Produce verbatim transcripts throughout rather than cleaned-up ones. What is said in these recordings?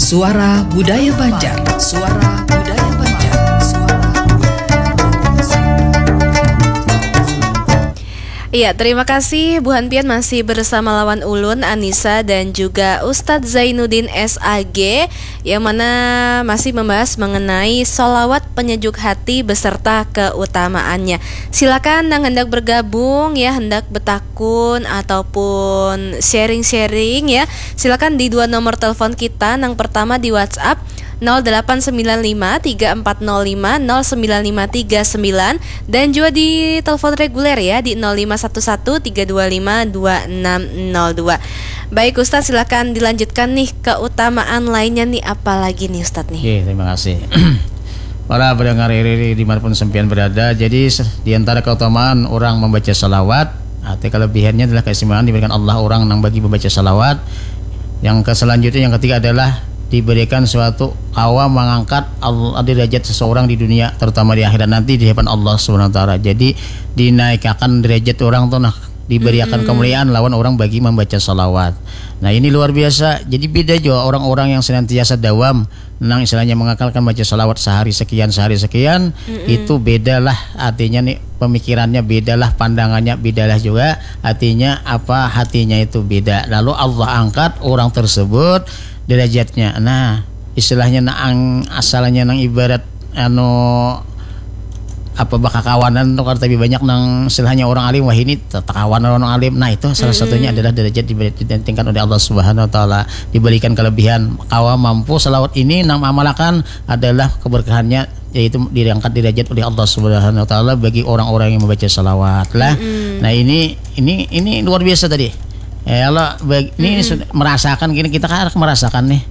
Suara Budaya Banjar. Suara Budaya Banjar. Suara Budaya Banjar. Iya, terima kasih Buhan Pian masih bersama lawan ulun Anissa dan juga Ustadz Zainuddin S A G yang mana masih membahas mengenai solawat penyejuk hati beserta keutamaannya. Silakan yang hendak bergabung ya, hendak betakun ataupun sharing-sharing ya. Silakan di dua nomor telepon kita. Yang pertama di WhatsApp nol delapan sembilan lima tiga empat nol lima nol sembilan lima tiga sembilan dan juga di telepon reguler ya di nol lima satu satu tiga dua lima dua enam nol dua. Baik Ustadz, silakan dilanjutkan nih keutamaan lainnya nih, apa lagi nih Ustadz nih? Oke, terima kasih. Para pendengar R R I dimanapun sampean berada, jadi di antara keutamaan orang membaca salawat, arti kelebihannya adalah keistimewaan diberikan Allah orang yang bagi membaca salawat. Yang selanjutnya, yang ketiga adalah diberikan suatu kawa mengangkat derajat seseorang di dunia, terutama di akhirat nanti di hadapan Allah Subhanahu Wa Taala. Jadi dinaikakan derajat orang tuh nah, diberiakan kemuliaan lawan orang bagi mambaca salawat. Nah, ini luar biasa. Jadi bida jua orang-orang yang senantiasa dawam nang istilahnya mengakalkan baca salawat sahari sekian, sahari sekian, itu bedalah artinya nih, pemikirannya bedalah, pandangannya bedalah juga, artinya apa, hatinya itu beda. Lalu Allah angkat orang tersebut derajatnya. Nah, istilahnya nang asalnya nang ibarat anu apa bakakawanan tuh kan, tapi banyak nang istilahnya orang alim, wah ini takawanan orang alim. Nah, itu salah satunya adalah derajat diberi- ditentingkan oleh Allah Subhanahu Wa Taala, diberikan kelebihan kawa mampu salawat ini nang amalakan adalah keberkahannya, yaitu diangkat derajat oleh Allah Subhanahu Wa Taala bagi orang-orang yang membaca salawat lah. Nah, ini ini ini luar biasa tadi. Ya Allah, bag- ini sudah merasakan gini, kita kan merasakan nih.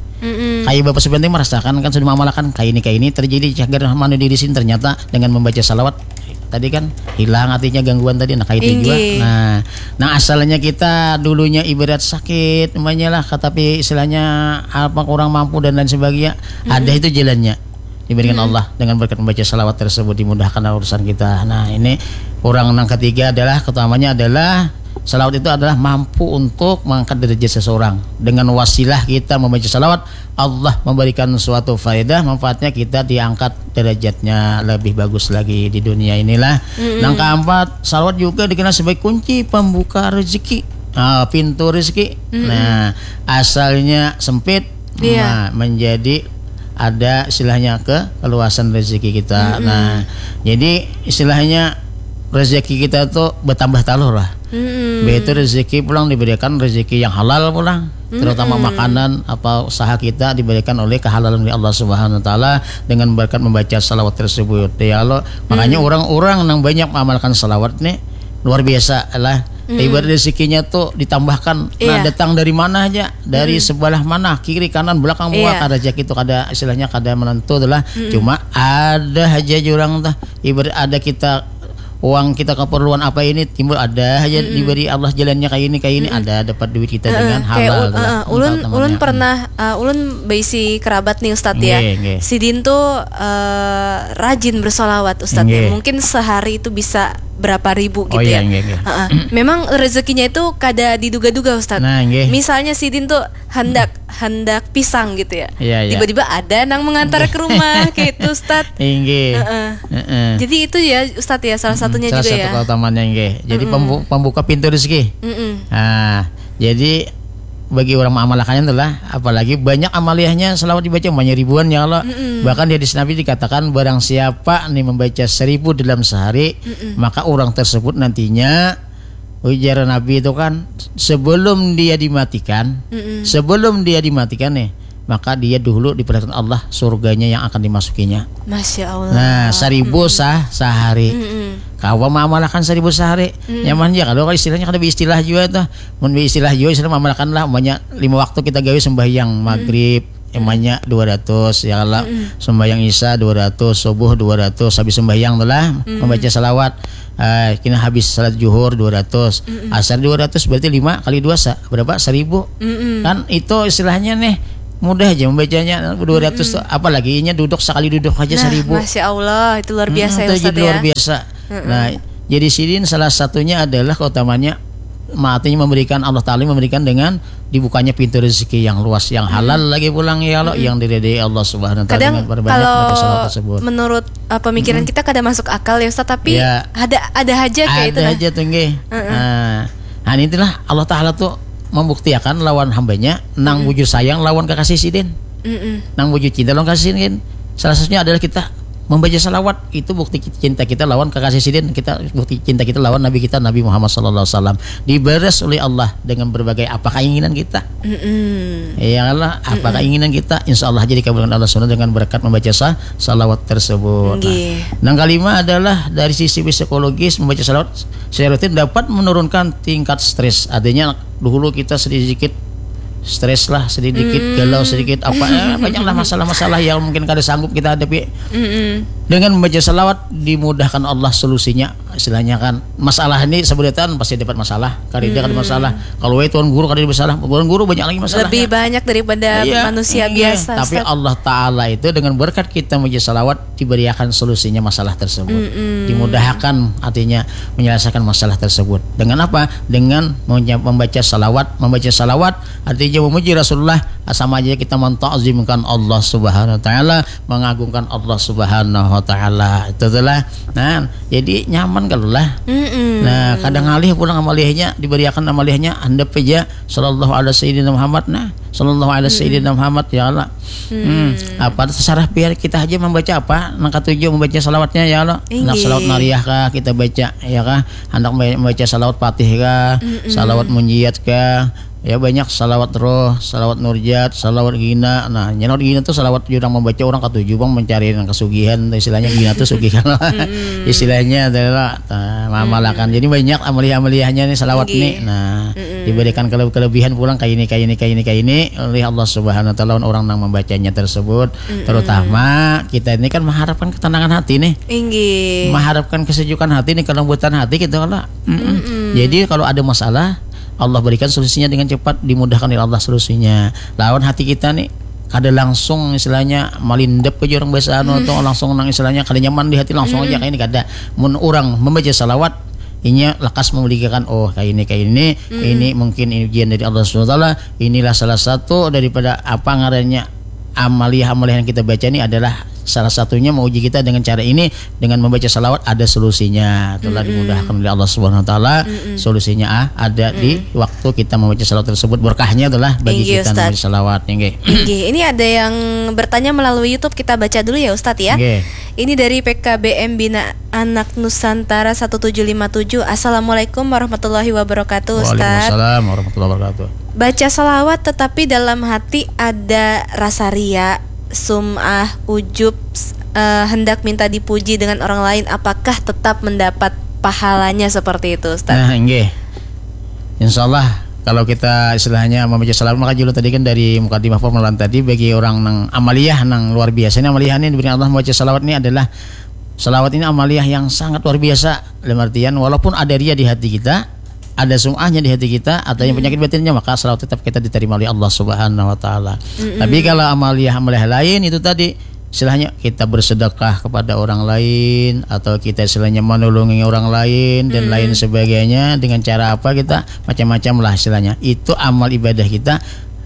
Kayak Bapak sebenarnya merasakan kan sudah mengamalkan kayak ini, kayak ini terjadi cagar manu diri sini, ternyata dengan membaca salawat tadi kan hilang artinya gangguan tadi, nah kayak itu juga. Inggih. Nah, nah asalnya kita dulunya ibarat sakit namanya lah, tapi istilahnya apa kurang mampu dan lain sebagainya, ada itu jalannya diberikan Allah dengan berkat membaca salawat tersebut, dimudahkan urusan kita. Nah, ini orang yang ketiga adalah keutamanya adalah salawat itu adalah mampu untuk mengangkat derajat seseorang. Dengan wasilah kita membaca salawat, Allah memberikan suatu faedah, manfaatnya kita diangkat derajatnya lebih bagus lagi di dunia inilah. Yang keempat, salawat juga dikenal sebagai kunci pembuka rezeki, ah, pintu rezeki. Nah, asalnya sempit, Iya. Nah, menjadi ada istilahnya ke keluasan rezeki kita. Nah, jadi istilahnya rezeki kita tuh bertambah talur lah. Begitu rezeki pulang diberikan rezeki yang halal pulang, terutama makanan apa usaha kita diberikan oleh kehalalan dari Allah Subhanahu Wa Taala dengan berkat membaca salawat tersebut. Ya Allah, makanya orang-orang yang banyak mengamalkan salawat nih luar biasa lah. Ibarat rezekinya tuh ditambahkan. Nah, Iya. Datang dari mana aja, dari sebelah mana, kiri, kanan, belakang, Iya. muka, rezeki itu kada istilahnya kada menentu tuh lah. Cuma ada aja jurang tuh. Ibarat ada kita uang kita keperluan apa ini timbul, ada aja diberi Allah jalannya kayak ini, kayak ini, ada dapat duit kita dengan Kayak halal ul- tuh lah. eh, ulun Entah ulun namanya. Pernah eh, ulun beisi kerabat nih Ustadz ya. Nggih, nggih. Sidin tuh eh, rajin bersolawat Ustadz ya. Nggih. Mungkin sehari itu bisa berapa ribu gitu Oh, iya, ya. Nggih, nggih. Heeh. Memang rezekinya itu kada diduga-duga Ustadz. Nah, nggih. Misalnya sidin tuh hendak hendak pisang gitu ya. Iya, iya. Tiba-tiba ada nang mengantar ke rumah kayak itu Ustadz. Inggih. Heeh. Heeh. Jadi itu ya Ustadz ya salah satunya Salah juga satu ya. Keutamaannya nggih. Jadi pembu- pembuka pintu rezeki. Mm-mm. Nah, jadi bagi orang mengamalkannya adalah apalagi banyak amaliyahnya salawat dibaca banyak ribuan ya Allah. Bahkan di hadis Nabi dikatakan barang siapa nih membaca seribu dalam sehari, maka orang tersebut nantinya ujar Nabi itu kan sebelum dia dimatikan, sebelum dia dimatikan nih, maka dia dulu diperlihatkan Allah surganya yang akan dimasukinya. Masya Allah. Nah, seribu sah sehari. Kawa mengamalkan seribu sehari. Nyaman ya kalau istilahnya kada istilah juga tuh. Mun istilah juga istilah mengamalkan lah banyak lima waktu kita gawe sembahyang maghrib, emanya dua ratus ya Allah. Sembahyang isya dua ratus, subuh dua ratus, habis sembahyang tuh lah membaca salawat. Eh, kena habis salat juhur dua ratus, asar dua ratus, berarti lima kali dua sa- berapa? Seribu. Kan itu istilahnya nih mudah aja membacanya dua ratus tuh, apalagi inya duduk sekali duduk aja Nah, seribu. Masya Allah, itu luar biasa Hmm, ya itu Ustadz jadi ya. Luar biasa. Nah, jadi sidin salah satunya adalah keutamanya ma-, artinya memberikan, Allah Ta'ala memberikan dengan dibukanya pintu rezeki yang luas, yang halal lagi pulang, ya Allah, yang diridai Allah Subhanahu wa Ta'ala. Kadang dengan perbanyak kalau baca salawat tersebut. Menurut, uh, pemikiran kita kada masuk akal ya, Ustaz, tapi Ya. ada, ada aja kayak itu, Ada nah. aja tuh, nggih. Heeh. Nah, nah, itulah Allah Ta'ala tuh membuktiakan lawan hambanya nang bujur sayang lawan kekasih sidin. Mm-mm. Nang bujur cinta lawan kekasih sidin. Salah satunya adalah kita membaca salawat, itu bukti cinta kita lawan kekasih sidin, kita bukti cinta kita lawan Nabi kita, Nabi Muhammad sallallahu alaihi wasallam. Dibalas oleh Allah dengan berbagai apa keinginan kita. Mm-mm. Ya Allah, apa Mm-mm. keinginan kita, insya Allah jadi kabulkan Allah Subhanahu dengan berkat membaca sa-, salawat tersebut. Nah, Nggih. Nang kelima adalah dari sisi psikologis, membaca salawat secara rutin dapat menurunkan tingkat stres. Artinya dulu kita sedikit stres lah, sedikit Mm. galau, sedikit apa, eh, banyaklah masalah-masalah yang mungkin kada sanggup kita hadapi. Mm-mm. Dengan membaca salawat dimudahkan Allah solusinya. Istilahnya kan, masalah ini sebenarnya pasti dapat masalah, kada ada Mm-mm. masalah. Kalau itu tuan guru kada ada masalah, tuan guru banyak lagi masalah. Lebih banyak daripada Iya, manusia iya. biasa, Tapi Ustaz. Allah Ta'ala itu dengan berkat kita membaca salawat diberiakan solusinya masalah tersebut. Mm-mm. Dimudahkan artinya menyelesaikan masalah tersebut. Dengan apa? Dengan menya-, membaca salawat. Membaca salawat artinya memuji Rasulullah, sama aja kita mentakzimkan Allah Subhanahu wa Ta'ala, mengagungkan Allah Subhanahu wa Ta'ala. Itu itulah. Nah, jadi nyaman kalau lah. Mm-mm. Nah, kadang alih pulang amaliyahnya, diberiakan amaliyahnya, handap aja, sallallahu ala sayyidina Muhammad. Nah, sallallahu ala Mm-mm. sayyidina Muhammad, ya Allah. Hmm. Hmm. Apa terserah biar kita aja membaca apa, nang katuju membaca salawatnya, ya Allah. Inggih. Nak salawat nariyah kah kita baca, ya kah? Hendak membaca salawat Fatih kah, Mm-mm. salawat munjiat kah? Ya, banyak salawat roh, salawat nurjat, salawat gina. Nah, salawat gina tuh salawat jurang membaca orang katuju bang mencari nang kesugihan, istilahnya gina tuh sugihan. Mm-mm. Istilahnya adalah, nah, mamalakan. Mm-mm. Jadi banyak amaliyah-amaliyahnya nih salawat Inggih. nih. Nah, Mm-mm. diberikan kele-, kelebihan pulang kayak ini, kayak ini, kayak ini, kayak ini oleh Allah Subhanahu wa Ta'ala orang nang membacanya tersebut. Mm-mm. Terutama kita ini kan mengharapkan ketenangan hati nih. Inggih. Mengharapkan kesejukan hati nih, kelembutan hati gitu kalau. Mm-mm. Mm-mm. Jadi kalau ada masalah, Allah berikan solusinya dengan cepat, dimudahkan oleh Allah solusinya. Lawan hati kita nih kada langsung istilahnya malindep aja orang bahasa anu Mm. atau langsung nang istilahnya kada nyaman di hati langsung aja Mm-mm. kayak ini kada. Mun orang membaca salawat, inya lekas memiliki kan, oh, kayak ini, kayak ini, Mm-mm. ini mungkin ini ujian dari Allah Subhanahu wa Ta'ala. Inilah salah satu daripada apa ngarannya amaliyah-amaliyah yang kita baca ini adalah salah satunya menguji kita dengan cara ini, dengan membaca salawat ada solusinya. Itulah Mm-mm. dimudahkan oleh Allah Subhanahu wa Taala. Mm-mm. Solusinya, ah, ada di Mm-mm. waktu kita membaca salawat tersebut, berkahnya itulah bagi Inggih, kita Ustaz. membaca salawat, inggih. Inggih, ini ada yang bertanya melalui YouTube, kita baca dulu ya, Ustaz, ya. Inggih. Ini dari P K B M Bina Anak Nusantara satu tujuh lima tujuh. Assalamualaikum warahmatullahi wabarakatuh, Ustaz. Waalaikumsalam warahmatullahi wabarakatuh. Baca salawat tetapi dalam hati ada rasa ria, sum'ah, ujub, s-, eh, hendak minta dipuji dengan orang lain, apakah tetap mendapat pahalanya seperti itu, Ustaz? Nah, inggih. Insya Allah, kalau kita istilahnya membaca salawat, maka julu tadi kan dari mukadimah permulaan tadi, bagi orang nang amaliyah, nang luar biasa ini amaliyah ini diberikan Allah membaca salawat ini adalah, salawat ini amaliyah yang sangat luar biasa. Dalam artian, walaupun ada ria di hati kita, ada sum'ahnya di hati kita, atau yang Mm-mm. penyakit batinnya, maka salawat tetap kita diterima oleh Allah Subhanahu wa Ta'ala. Mm-mm. Tapi kalau amaliyah-amaliyah lain itu tadi, istilahnya kita bersedekah kepada orang lain, atau kita istilahnya menolongi orang lain, dan Mm-mm. lain sebagainya, dengan cara apa kita, macam-macam lah istilahnya. Itu amal ibadah kita,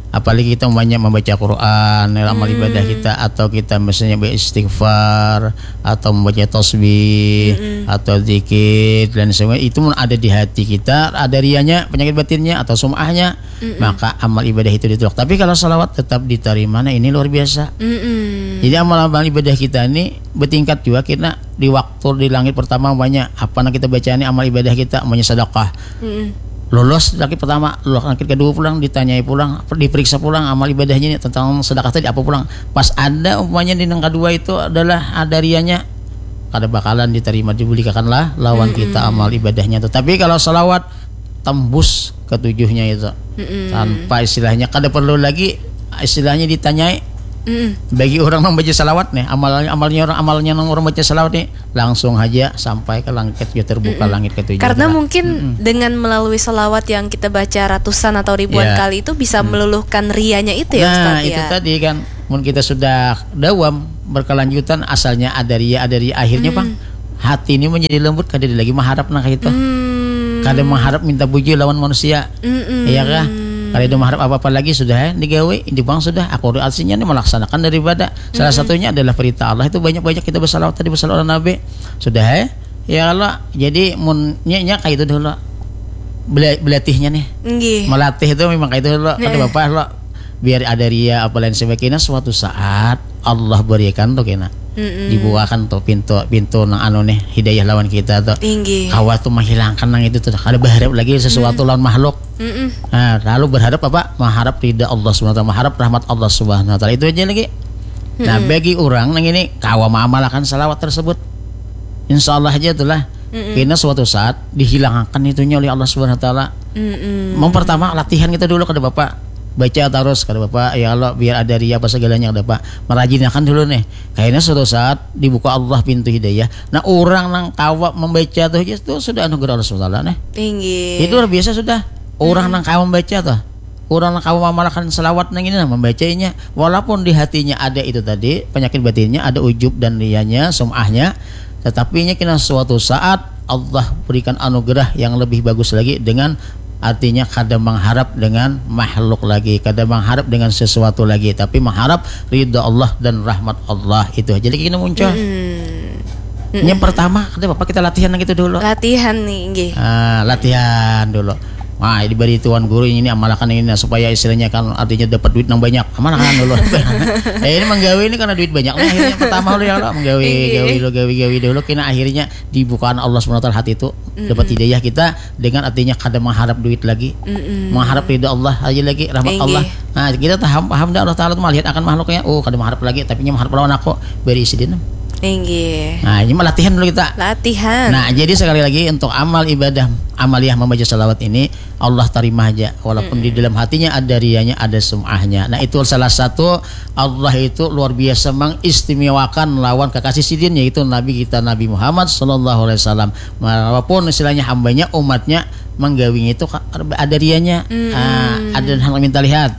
apalagi kita banyak membaca Quran, amal Mm. ibadah kita, atau kita misalnya beristighfar, atau membaca tasbih, Mm-mm. atau zikir, dan sebagainya. Itu mun ada di hati kita, ada rianya, penyakit batinnya, atau sum'ahnya, Mm-mm. maka amal ibadah itu ditolak. Tapi kalau salawat tetap diterima, nah ini luar biasa. Mm-mm. Jadi amal-amal ibadah kita ini bertingkat juga, kita di waktu di langit pertama banyak apa nang kita baca ini amal ibadah kita, banyak sedekah. Mm-mm. Lolos langit pertama, lolos langit kedua pulang, ditanyai pulang, diperiksa pulang amal ibadahnya ini tentang sedekah tadi apa pulang. Pas ada umpamanya di nang kedua itu adalah ada rianya, kada bakalan diterima, dibulikakan lah lawan Mm-mm. kita amal ibadahnya tu. Tapi kalau salawat tembus ketujuhnya itu. Mm-mm. Tanpa istilahnya, kada perlu lagi istilahnya ditanyai. Mm-mm. Bagi orang membaca salawat nih, amalnya, amalnya orang, amalnya orang baca salawat nih, langsung aja sampai ke langit ketujuh, terbuka Mm-mm. langit ketujuh. Karena Nah, mungkin mm-mm. dengan melalui salawat yang kita baca ratusan atau ribuan Ya. kali itu bisa Mm. meluluhkan rianya itu ya, Nah, Ustaz, itu ya. tadi kan, mun kita sudah dawam berkelanjutan, asalnya ada ria, ada ria, akhirnya, Mm. Bang, hati ini menjadi lembut, kada ada lagi mengharap nah kayak itu. Mm. Kada mengharap minta puji lawan manusia. Mm-mm. Iya kah? Kada ada mengharap apa-apa lagi sudah, eh, digawe, dibuang sudah. Aku artinya ini melaksanakan daripada salah satunya adalah perintah Allah itu banyak-banyak kita bersalawat tadi bersalawat ala Nabi. Sudah, eh. Ya Allah, jadi mun nya, nya kayak itu dulu. Bela- belatihnya nih. Nggih. Melatih itu memang kayak itu dulu. Kada Heeh. Bapak lo biar ada ria apa lain sebagainya suatu saat Allah berikan tuh kena Mm-mm. dibukakan tuh pintu pintu nang anu nih hidayah lawan kita tuh Inggih. Kawa tuh menghilangkan nang itu tuh kada berharap lagi sesuatu lawan makhluk. Mm-mm. Nah, lalu berharap apa? Mengharap ridha Allah Subhanahu wa taala, mengharap rahmat Allah Subhanahu wa taala. Itu aja lagi. Nah, bagi orang nang ini kawa mengamalkan salawat tersebut. Insya Allah aja itulah. Kena suatu saat dihilangkan itunya oleh Allah Subhanahu wa taala. Mm-mm. Mempertama latihan kita dulu kada bapak baca terus kada bapak ya Allah biar ada ria apa segalanya kada bapak merajinakan dulu nih kayaknya suatu saat dibuka Allah pintu hidayah nah orang nang kawa membaca tuh aja tuh sudah anugerah Allah Subhanahu wa taala nih Inggih. itu luar biasa sudah orang nang kawa membaca tuh orang nang kawa mengamalkan selawat nang ini nah membacanya walaupun di hatinya ada itu tadi penyakit batinnya ada ujub dan rianya sum'ahnya tetapi nya kena suatu saat Allah berikan anugerah yang lebih bagus lagi dengan artinya kada mengharap dengan makhluk lagi kada mengharap dengan sesuatu lagi tapi mengharap ridha Allah dan rahmat Allah itu aja lagi kena muncul Mm-mm. yang pertama kada apa kita latihan gitu dulu Latihan nih, nggih. Ah, latihan dulu. Wah, diberi tuan guru ini amalakan ini nah, supaya istilahnya kan artinya dapat duit nang banyak. Amalakan dulu. eh, ini menggawe ini karena duit banyak. Nah, akhirnya pertama dulu ya Allah menggawe Iya. gawe dulu gawe gawe dulu kena akhirnya dibukaan Allah Subhanahu wa taala hati itu dapat hidayah kita dengan artinya kada mengharap duit lagi. Mm-mm. Mengharap ridha Allah aja lagi rahmat Inggih. Allah. Nah, kita paham paham dah Allah taala tuh melihat akan makhluknya. Oh, kada mengharap lagi tapi nya mengharap lawan aku beri sidin. Inggih. Nah, ini mah latihan dulu kita. Latihan. Nah, jadi sekali lagi untuk amal ibadah amaliah membaca salawat ini Allah terima aja walaupun di dalam hatinya ada rianya ada sum'ahnya. Nah, itu salah satu Allah itu luar biasa mengistimewakan lawan kekasih sidin yaitu Nabi kita Nabi Muhammad sallallahu alaihi wasallam. Walaupun istilahnya hambanya umatnya menggawinya itu ka- ada rianya. Mm-mm. Ah, ada hal minta lihat.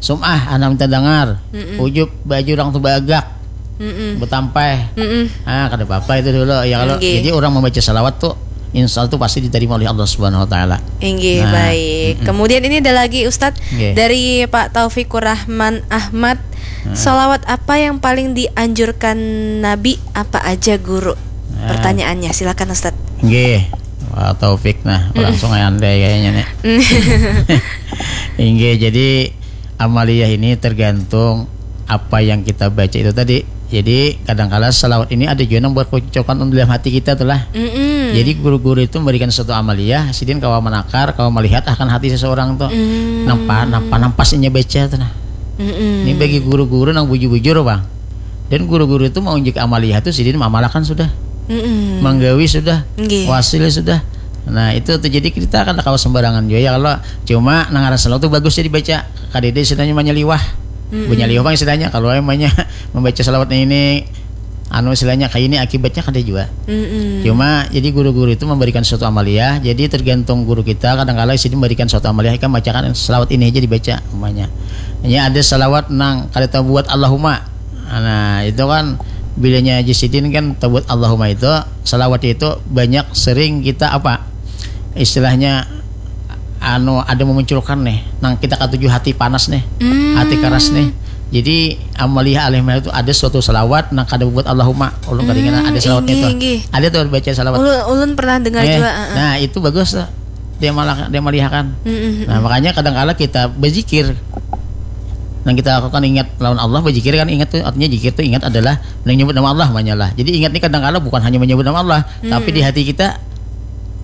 Sum'ah anak minta dengar. Mm-mm. Ujub baju orang tuh bagak. Mm-mm. Betampai. Mm-mm. Ah, kada apa-apa itu dulu ya kalau Nggih. jadi orang membaca salawat tuh insya Allah tuh pasti diterima oleh Allah Subhanahu wa taala. Inggih, Nah, baik. Kemudian ini ada lagi Ustadz Nggih. dari Pak Taufik Rahman Ahmad. Salawat apa yang paling dianjurkan Nabi apa aja guru? Nah. Pertanyaannya, silakan Ustadz. Nggih. Wah, Taufik nah, langsung aja andai kayaknya nih. Inggih, jadi amaliyah ini tergantung apa yang kita baca itu tadi. Jadi kadangkala salawat ini ada juga yang berkecocokan dalam hati kita tuh lah. Mm-mm. Jadi guru-guru itu memberikan suatu amaliyah, sidin kawa menakar, kawa melihat akan hati seseorang tuh. Mm. Nampak, nampak, nampasnya baca tuh nah. Mm-mm. Ini bagi guru-guru nang bujur-bujur bang. Dan guru-guru itu mau unjuk amaliyah tuh sidin mamalakan sudah. Mm-mm. Manggawi sudah. Nggih. Wasil sudah. Nah itu tuh jadi kita kan kawa sembarangan juga ya kalau cuma nang ngaran salawat tuh bagus ya dibaca. Kadede istilahnya manyaliwah. Mm-mm. Manyaliwah bang istilahnya kalau emangnya membaca salawat ini anu istilahnya kayak ini akibatnya kada juga. Mm-mm. Cuma jadi guru-guru itu memberikan suatu amaliyah, jadi tergantung guru kita kadang-kala sidin memberikan suatu amaliyah kan bacakan salawat ini aja dibaca umpamanya. Ini ada salawat nang kada tahu buat Allahumma. Nah, itu kan bilanya Haji Sidin kan tahu buat Allahumma itu salawat itu banyak sering kita apa? Istilahnya anu ada memunculkan nih nang kita katuju hati panas nih. Hmm. Hati keras nih. Jadi amaliyah alih itu ada suatu salawat nang kada buat Allahumma. Ulun kada ingat ada salawatnya Inggih, itu. Inggih. Ada tuh baca salawat. Ulun, ulun pernah dengar Eh, juga. Heeh. Nah, itu bagus tuh. Dia malah dia melihakan. Mm-mm. Nah, makanya kadang-kala kita berzikir. Yang kita lakukan ingat lawan Allah berzikir kan ingat tuh artinya zikir tuh ingat adalah yang nyebut nama Allah banyak lah. Jadi ingat ini kadang-kala bukan hanya menyebut nama Allah, tapi di hati kita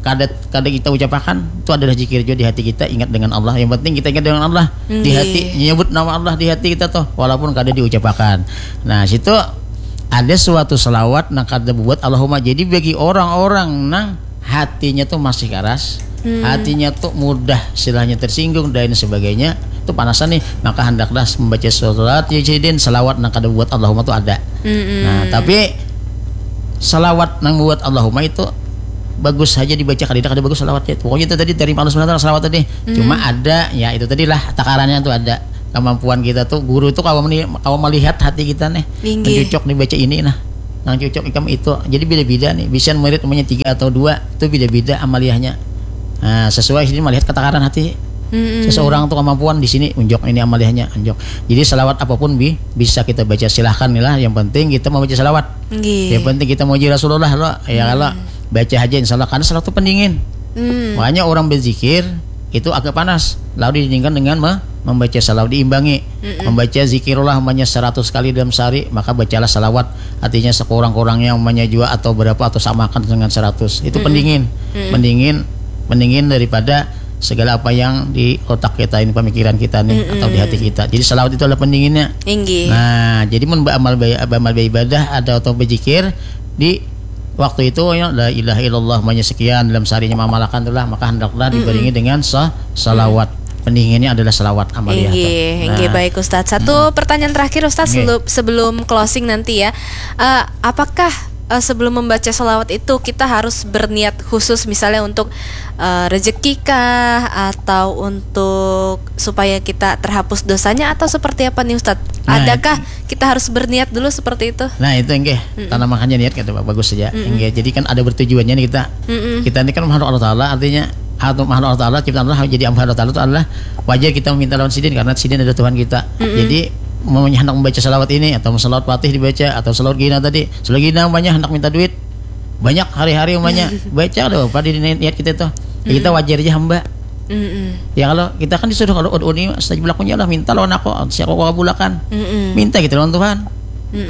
kada kada kita ucapakan itu adalah zikir juga di hati kita ingat dengan Allah. Yang penting kita ingat dengan Allah di Nggih. hati nyebut nama Allah di hati kita tuh walaupun kada diucapakan. Nah, situ ada suatu selawat nang kada buat Allahumma. Jadi bagi orang-orang nang hatinya tuh masih keras, Hmm. hatinya tuh mudah istilahnya tersinggung dan sebagainya, itu panasan nih, maka hendaklah membaca surat Yasin selawat nang kada buat Allahumma tuh ada. Mm-mm. Nah, tapi selawat nang buat Allahumma itu bagus saja dibaca kada kada bagus selawatnya. Pokoknya itu tadi dari Allah Subhanahu wa taala selawat tadi. Cuma ada ya itu tadi lah takarannya tuh ada kemampuan kita tuh guru tuh kawa meni- kawa melihat hati kita nih. Inggih. Nang cocok nih baca ini nah. Nang cocok ikam itu. Jadi beda-beda nih. Bisa murid umumnya tiga atau dua itu beda-beda amaliyahnya. Nah, sesuai sini melihat ketakaran hati seseorang tuh kemampuan di sini, unjuk ini amaliyahnya, unjuk. Jadi salawat apapun bi, bisa kita baca, silahkan nih lah. Yang penting kita membaca salawat. Nggih. Yang penting kita muji Rasulullah loh, ya kalau baca aja insya Allah, karena salawat itu pendingin. Makanya orang berzikir itu agak panas, lalu didinginkan dengan me- membaca salawat, diimbangi, membaca zikirullah umpamanya seratus kali dalam sehari, maka bacalah salawat, artinya sekurang-kurangnya umpamanya jua atau berapa atau samakan dengan seratus. Itu pendingin, pendingin, pendingin daripada segala apa yang di otak kita ini, pemikiran kita nih atau di hati kita. Jadi salawat itu adalah pendinginnya. Inggih. Nah, jadi mun beramal ba- beramal beribadah ada atau berzikir di waktu itu ya, la ilaha illallah umpamanya sekian dalam seharinya mamalakan itulah, maka hendaklah dibaringi dengan sa- salawat. Pendinginnya adalah salawat amaliyah tuh. Inggih, inggih, Nah, baik Ustadz. Satu pertanyaan terakhir Ustadz, Nggih. selu- sebelum closing nanti ya. Eh, apakah eh, sebelum membaca salawat itu kita harus berniat khusus misalnya untuk eh, rezeki kah atau untuk supaya kita terhapus dosanya atau seperti apa nih Ustadz? Nah, Adakah kita harus berniat dulu seperti itu? Nah, itu enggih, tanamakannya niat kata Pak, bagus saja. Enggih, jadi kan ada bertujuannya nih kita. Kita ini kan makhluk Allah Taala, artinya atau makhluk Allah Taala, ciptaan Allah, jadi hamba Allah Taala itu adalah wajar kita meminta lawan sidin karena sidin adalah Tuhan kita. Jadi umpamanya hendak membaca salawat ini atau salawat fatih dibaca atau salawat gina tadi, salawat gina umpamanya hendak minta duit banyak hari-hari umpamanya baca ada apa di niat kita itu. Ya, kita wajar aja hamba. Mm-mm. Ya kalau kita kan disuruh kalau ud'uni astajib lakum, ya Allah minta lawan aku, siapa aku kabulakan. Mm-mm. Minta gitu lawan Tuhan.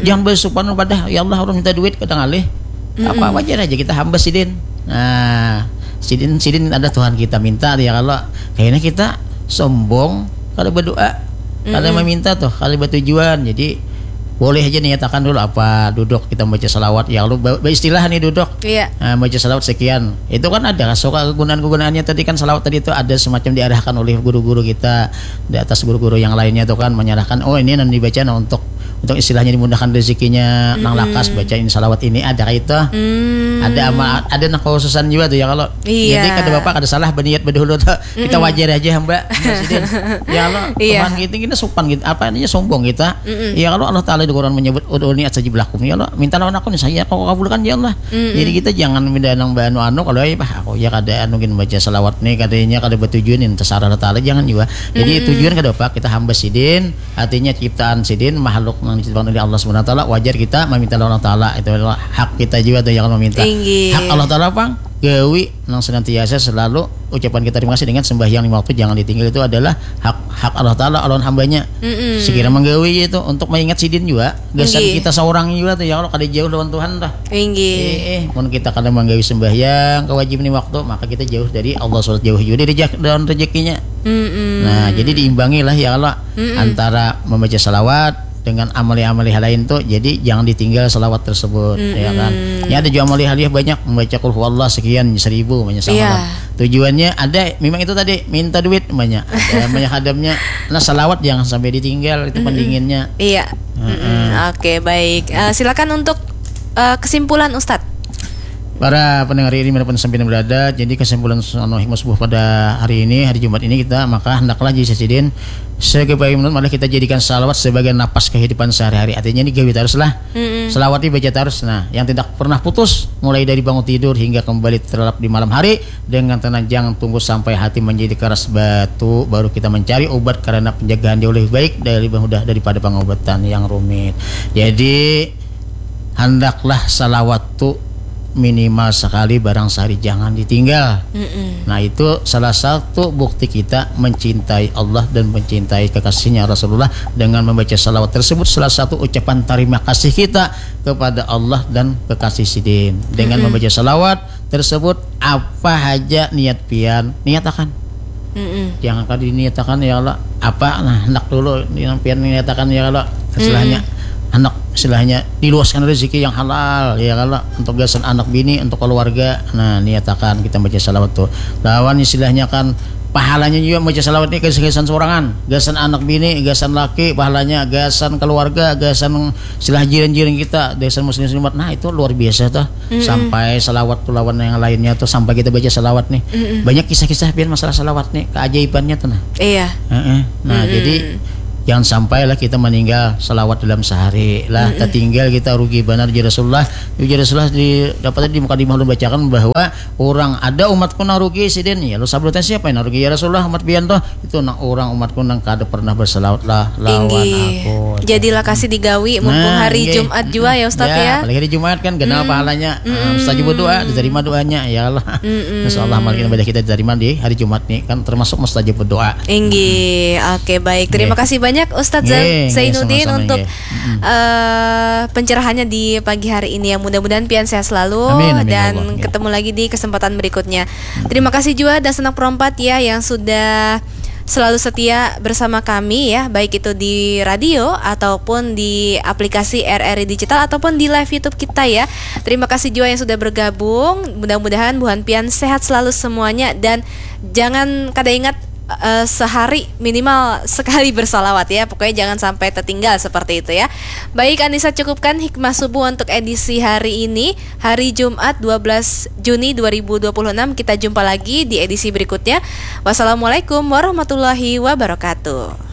Jangan bersupan pada ya Allah orang minta duit kadang alih. Apa wajar aja kita hamba sidin. Nah, sidin sidin ada Tuhan kita minta ya kalau kayaknya kita sombong kalau berdoa kalau meminta tuh kalau bertujuan. Jadi boleh aja niatakan dulu apa duduk kita membaca salawat ya Allah ba- beristilah nih duduk. Iya. Nah, baca salawat sekian. Itu kan ada suka kegunaan-kegunaannya tadi kan salawat tadi itu ada semacam diarahkan oleh guru-guru kita di atas guru-guru yang lainnya tuh kan menyerahkan oh ini nanti dibaca nah untuk untuk istilahnya dimudahkan rezekinya nang lakas bacain salawat ini ada kayak itu. Hmm. Ada ama ada nang khususan juga tuh ya kalau Iya. Jadi kada bapak kada salah berniat berdahulu tuh. Kita wajar aja hamba. Sidin. Ya Allah, Iya. Tuhan gitu kita sopan gitu. Apa ini sombong kita. Ya kalau Allah Taala di Quran menyebut ud'uni astajib lakum ya Allah, minta lawan aku nih saya kau kabulkan ya Allah. Jadi kita jangan minta nang anu anu kalau ya bah aku ya kada anu gin baca salawat nih katanya kada bertujuan ini terserah Allah Taala jangan juga. Jadi tujuan kada apa kita hamba sidin, artinya ciptaan sidin makhluk yang diciptakan oleh Allah Subhanahu Wa Taala wajar kita meminta lawan Allah Taala itu adalah hak kita juga tuh yang meminta. Inggih. Hak Allah Taala pang gawi nang senantiasa selalu ucapan kita terima kasih dengan sembahyang lima waktu jangan ditinggal itu adalah hak hak Allah Taala lawan hambanya. Mm-mm. Sekira menggawi itu untuk mengingat sidin juga gasan Inggih. Kita seorang juga tuh ya kalau kada jauh lawan Tuhan dah. Inggih. Eh, eh, mun kita kada menggawi sembahyang kewajiban lima waktu maka kita jauh dari Allah subhanahu jauh juga dari rejek- dalam rezekinya. Mm-mm. Nah, jadi diimbangi lah ya Allah antara membaca salawat dengan amali-amali hal lain tuh. Jadi jangan ditinggal salawat tersebut, ya kan? Ya ada juga amali hal banyak membaca kul huwallah sekian seribu banyak Iya. Tujuannya ada memang itu tadi minta duit banyak. Ada banyak hadamnya. Nah, salawat jangan sampai ditinggal itu pendinginnya. Iya. Mm-mm. Oke, baik. Eh, silakan untuk eh, kesimpulan Ustadz. Para pendengar ini dimanapun sampai berada, jadi kesimpulan anu hikmah subuh pada hari ini, hari Jumat ini kita maka hendaklah jadi sidin sebagai menurut malah kita jadikan salawat sebagai napas kehidupan sehari-hari. Artinya ini gawi terus lah. Salawat dibaca terus. Nah, yang tidak pernah putus mulai dari bangun tidur hingga kembali terlelap di malam hari dengan tenang jangan tunggu sampai hati menjadi keras batu baru kita mencari obat karena penjagaan jauh lebih baik dari mudah daripada pengobatan yang rumit. Jadi hendaklah salawat tu minimal sekali barang sehari jangan ditinggal. Mm-mm. Nah, itu salah satu bukti kita mencintai Allah dan mencintai kekasihnya Rasulullah dengan membaca salawat tersebut salah satu ucapan terima kasih kita kepada Allah dan kekasih sidin dengan membaca salawat tersebut apa haja niat pian niatakan. Mm-mm. Jangan kali diniatakan ya Allah apa nah hendak dulu yang pian niatakan ya Allah istilahnya hendak istilahnya diluaskan rezeki yang halal ya Allah untuk gasan anak bini untuk keluarga. Nah, niatakan kita baca salawat tuh lawan istilahnya kan pahalanya juga baca salawat ini gasan sorangan gasan anak bini gasan laki pahalanya gasan keluarga gasan istilah jiran-jiran kita gasan muslim muslimat. Nah, itu luar biasa tuh sampai salawat tuh lawan yang lainnya tuh sampai kita baca salawat nih. Banyak kisah-kisah pian masalah salawat nih keajaibannya tuh nah. Iya. Heeh. Nah, jadi Jangan sampai lah kita meninggal salawat dalam sehari lah, tertinggal kita, rugi banar. Ujar Rasulullah, ujar Rasulullah di dapat di mukadimah ulun bacakan bahwa orang ada umatku nang rugi sidin. Ya, lu sabutnya siapa yang rugi? Ya Rasulullah, umat pian toh. Itu nang orang umatku nang kada pernah bersalawat lah lawan Inggih. Aku. Jadilah kasih digawi mumpung Nah, hari inggih. Jumat jua ya Ustadz ya. Apalagi hari Jumat kan, kenal pahalanya. Ah, mustajab doa, diterima doanya, ya Allah. Insya Allah amal ibadah kita diterima di hari Jumat nih, kan termasuk mustajab doa. Inggih, oke, baik. Terima Nggih. kasih banyak Ustadz Nggih, Zai- nggih, Zainuddin sama-sama, untuk nggih. Mm-mm. eh, pencerahannya di pagi hari ini, yang mudah-mudahan pian sehat selalu Amin, amin, ya dan Allah, nggih. Ketemu lagi di kesempatan berikutnya. Terima kasih juga Dasanak Perompat ya yang sudah selalu setia bersama kami ya, baik itu di radio ataupun di aplikasi R R I Digital ataupun di live YouTube kita ya. Terima kasih juga yang sudah bergabung. Mudah-mudahan buhan pian sehat selalu semuanya dan jangan kada ingat eh, sehari minimal sekali bersalawat ya. Pokoknya jangan sampai tertinggal seperti itu ya. Baik Anissa, cukupkan hikmah subuh untuk edisi hari ini, hari Jumat dua belas Juni dua ribu dua puluh enam. Kita jumpa lagi di edisi berikutnya. Wassalamualaikum warahmatullahi wabarakatuh.